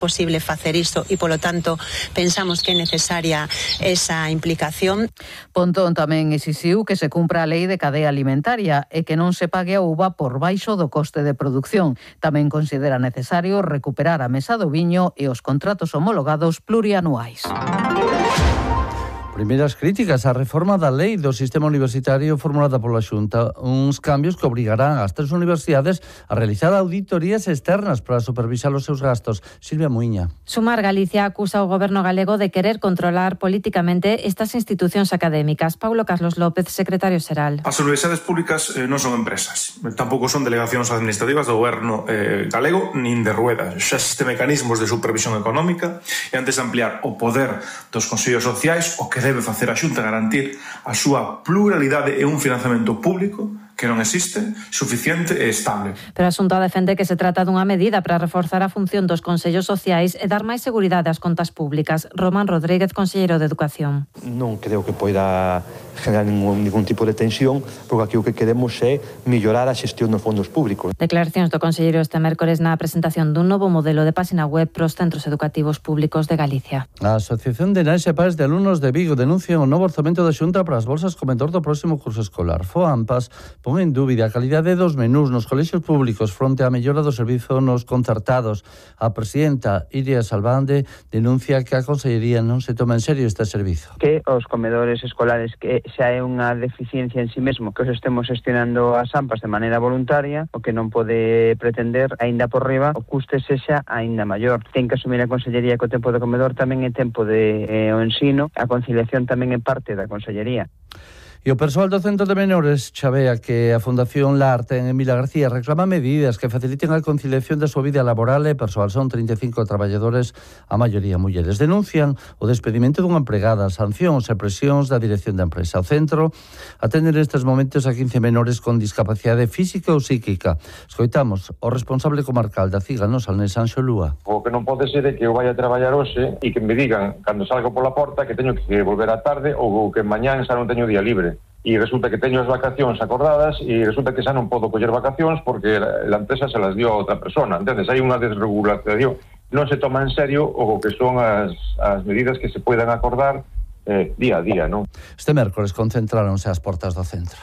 posible facer isto e, polo tanto, pensamos que é necesaria esa implicación. Pontón tamén exixiu que se cumpra a lei de cadea alimentaria e que non se pague a uva por baixo do coste de produción. Tamén considera necesario recuperar a mesa do viño e os contratos homologados plurianuais. Primeiras críticas á reforma da lei do sistema universitario formulada pola Xunta, uns cambios que obrigarán as 3 universidades a realizar auditorías externas para supervisar os seus gastos. Silvia Muiña. Sumar Galicia acusa ao goberno galego de querer controlar políticamente estas institucións académicas. Paulo Carlos López, secretario xeral. As universidades públicas non son empresas, tampouco son delegacións administrativas do goberno galego nin de Rueda. Xa existe mecanismos de supervisión económica e antes de ampliar o poder dos consellos sociais, o que debe facer a Xunta garantir a súa pluralidade e un financiamento público que non existe, suficiente e estable. Pero a Xunta defende que se trata dunha medida para reforzar a función dos consellos sociais e dar máis seguridade ás contas públicas. Román Rodríguez, conselleiro de Educación. Non creo que poida generar ningún tipo de tensión, porque aquí o que queremos é mellorar a xestión dos fondos públicos. Declaracións do conselleiro este mércores na presentación dun novo modelo de páxina web pros centros educativos públicos de Galicia. A Asociación de Nais e Pais de Alumnos de Vigo denuncia o novo orzamento da Xunta para as bolsas comedor do próximo curso escolar. FOAMPAS pon en dúbida a calidade dos menús nos colexios públicos fronte á mellora do servizo nos concertados. A presidenta Iria Salvande denuncia que a Consellería non se toma en serio este servizo. Que os comedores escolares, que xa é unha deficiencia en sí mesmo, que os estemos gestionando as AMPAs de maneira voluntaria, o que non pode pretender, aínda por riba, o custe sexa aínda maior. Ten que asumir a Consellería que o tempo do comedor tamén é tempo de o ensino, a conciliación tamén é parte da Consellería. E o persoal do Centro de Menores chavea que a Fundación Larte en Emilia García reclama medidas que faciliten a conciliación da súa vida laboral e persoal. Son 35 traballadores, a maioría mulleres. Denuncian o despedimento dunha empregada, sancións e presións da dirección da empresa. O centro atende nestes momentos a 15 menores con discapacidade física ou psíquica. Escoitamos o responsable comarcal da CIGA no Salnés, Anxo Lúa. O que non pode ser é que eu vaya a traballar hoxe e que me digan, cando salgo pola porta, que teño que volver á tarde ou que mañán xa non teño día libre. E resulta que teño as vacacións acordadas e resulta que xa non podo coller vacacións porque a empresa se las dio a outra persona. Entendes? Hai unha desregulación. Non se toma en serio o que son as medidas que se poidan acordar día a día, non? Este mércores concentráronse ás portas do centro.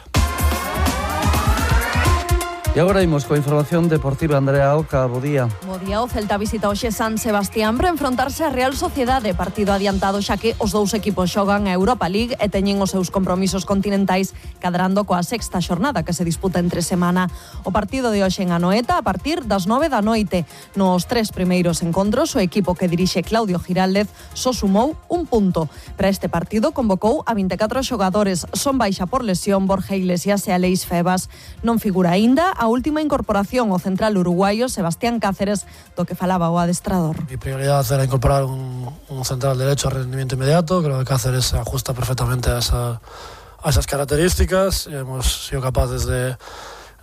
E agora imos coa información deportiva. Andrea Oca, bo día. Bo día, o Celta visita hoxe San Sebastián para enfrontarse a Real Sociedade, partido adiantado xa que os dous equipos xogan a Europa League e teñen os seus compromisos continentais cadrando coa sexta xornada que se disputa entre semana. O partido de hoxe en Anoeta a partir das 9 da noite. Nos 3 primeiros encontros, o equipo que dirixe Claudio Giraldez só sumou un punto. Para este partido convocou a 24 xogadores. Son baixa por lesión Borja Iglesias e Aleix Febas. Non figura aínda a última incorporación o central uruguayo Sebastián Cáceres, do que falaba o adestrador. Mi prioridad era incorporar un central derecho a rendimiento inmediato. Creo que Cáceres se ajusta perfectamente a esas características. Hemos sido capaces de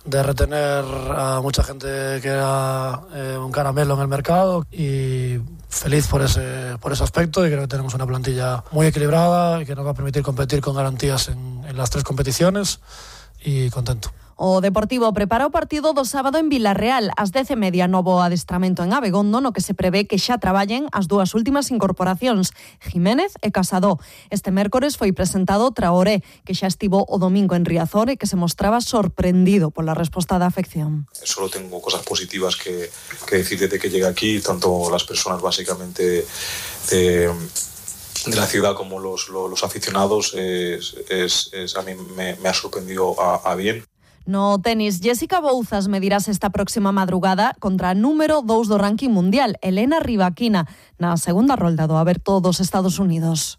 retener a mucha gente que era un caramelo en el mercado y feliz por ese aspecto, y creo que tenemos una plantilla muy equilibrada y que nos va a permitir competir con garantías en las 3 competiciones, y contento. O Deportivo prepara o partido do sábado en Vilarreal. Ás 10:30 novo adestramento en Abegondo, no que se prevé que xa traballen as 2 últimas incorporacións, Jiménez e Casado. Este mércores foi presentado Traoré, que xa estivo o domingo en Riazor e que se mostraba sorprendido pola resposta da afección. Solo tengo cosas positivas que decir desde que llegué aquí, tanto las personas básicamente de la ciudad como los aficionados, a mí me ha sorprendido a bien. No tenis, Jessica Bouzas medirás esta próxima madrugada contra a número 2 do ranking mundial, Elena Rybakina, na segunda rolda do Aberto dos Estados Unidos.